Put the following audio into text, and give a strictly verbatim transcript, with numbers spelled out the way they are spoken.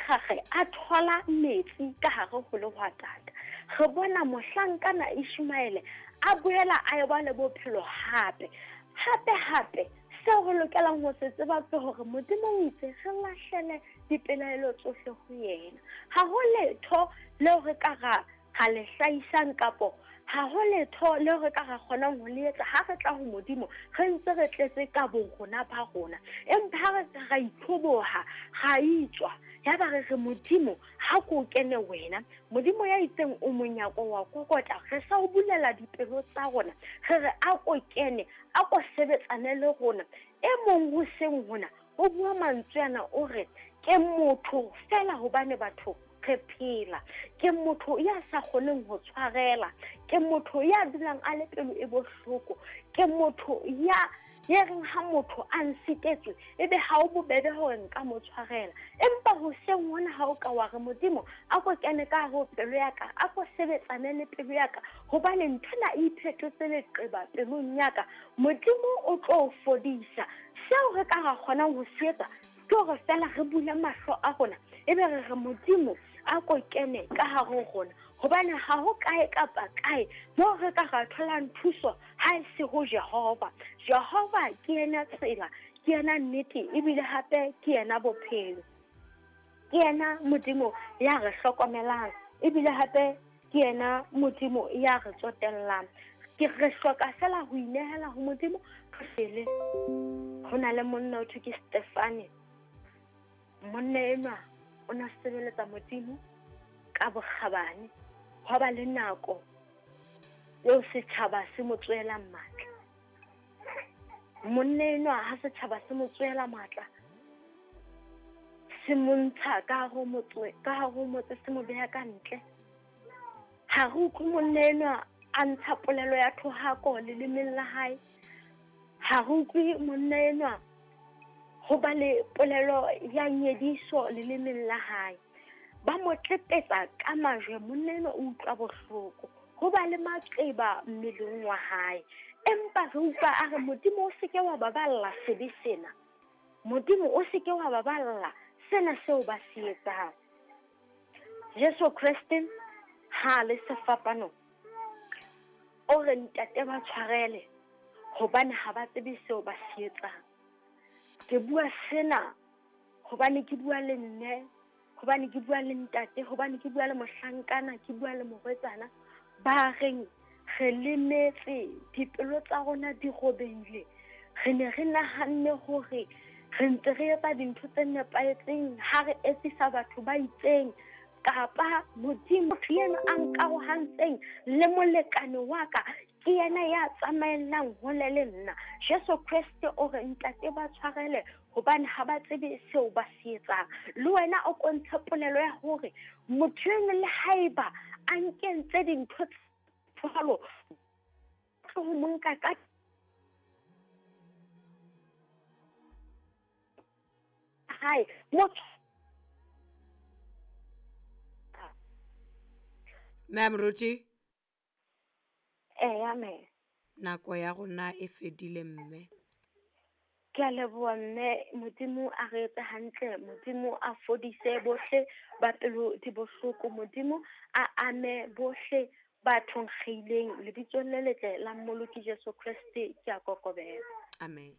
Hagare a thola metsi ka hare ho lehwatata. Re bona mohlankana Ishmaele a boela a eba le bophelo hape. Hape hape seo re lokelang ho se tseba ke hore Modimo o itse re lahlele dipelaelo tsohle ho yena. Ha ho letho leo re ka ra ra le hlahisang kapo ha ho letho leo re ka ra kgonang ho le etsa ha re tla ho Modimo re ntse re tletse ka borona ba rona. Empa ha re ra itlhoboha, ra itswa, ya ba re re Modimo ha ko kene wena. Modimo ya itseng o monyako wa kokota, re sa o bulela dipelo tsa rona, re re a ko kene, a ko sebetsane le rona. E mong hoseng hona o bua mantswe ana, o re ke motho fela hobane batho re phela, ke motho ya sa kgoneng ho tshwarela, ke motho ya dulang a le pelo e bohloko, ke motho ya ye reng ha motho a nsitetswe ebe ha o bobebe hore nka mo tshwarela. Empa hoseng hona ha o ka wa re Modimo a ko kene ka ho pelo ya ka, a ko sebetsane le pelo ya ka, hobane nthwena e iphetotse leqeba pelong ya ka, Modimo o tlo o fodisa. Seo re ka ra kgonang ho se etsa ke hore fela re bule mahlo a rona, ebe re re Modimo a ko kene ka hare ho rona, hobane ha ho kae kapa kae moo re ka ra tholang thuso ha e se ho Jehova. Jehova ke yena tsela, ke yena nnete, ebile hape ke yena bophelo. Ke yena Modimo ya re hlokomelang, ebile hape ke yena Modimo ya re tsotellang. Ke re hloka fela ho inehela ho Modimo. Pele ho na le monna o thwe ke Stefane. Monna enwa o na sebeletsa Modimo ka bokgabane. Hwa ba le nako eo setjhaba se mo tswelang matla. Monna enwa ha setjhaba se mo tswela matla, se mo ntsha ka hare ho motse, ka hare ho motse, se mo beha ka ntle. Ha re utlwe monna enwa a ntsha polelo ya thohako lelemeng la hae. Ha re utlwe monna enwa ho ba le polelo ya nyediso lelemeng la hae. Ba mo tlepetsa ka majwe, monna enwa o utlwa bohloko, ho ba le maqeba mmeleng wa hae. Empa re utlwa a re Modimo o seke wa baballa sebe sena, Modimo o seke wa baballa sena seo ba se etsang. Jesu Kreste ha le sefapanong o re ntate ba tshwarele hobane ha ba tsebe seo ba se etsang. Ke bua sena hobane ke bua le mme, hobane ke bua le ntate, hobane ke bua le mohlankana, ke bua le morwetsana ba reng re lemetse, dipelo tsa rona di robehile. Re ne re nahanne hore re ntse re etsa dintho tse nepahetseng ha re etsisa batho ba itseng, kapa Modimo yena a nkarohantseng le molekane wa ka ke yena ya tsamaellang hole le nna. Jesu Kreste o re ntate ba tshwarele hobane ha ba tsebe seo ba se etsang. Le wena o kontshe polelo ya hore motho eno le haeba a nkentse dintho tse jwalo, tlo ho mo nka ka hae motho. Ma'am Ruti? Eya, mme. Nako ya rona e fedile, mme. Ke a leboha, mme. Modimo a re etse hantle, Modimo a fodise bohle ba pelo di bohloko, Modimo a ame bohle ba thonkgileng lebitsong le letle la Mmoloki Jesu Kreste. Ke a kokobela. Amen.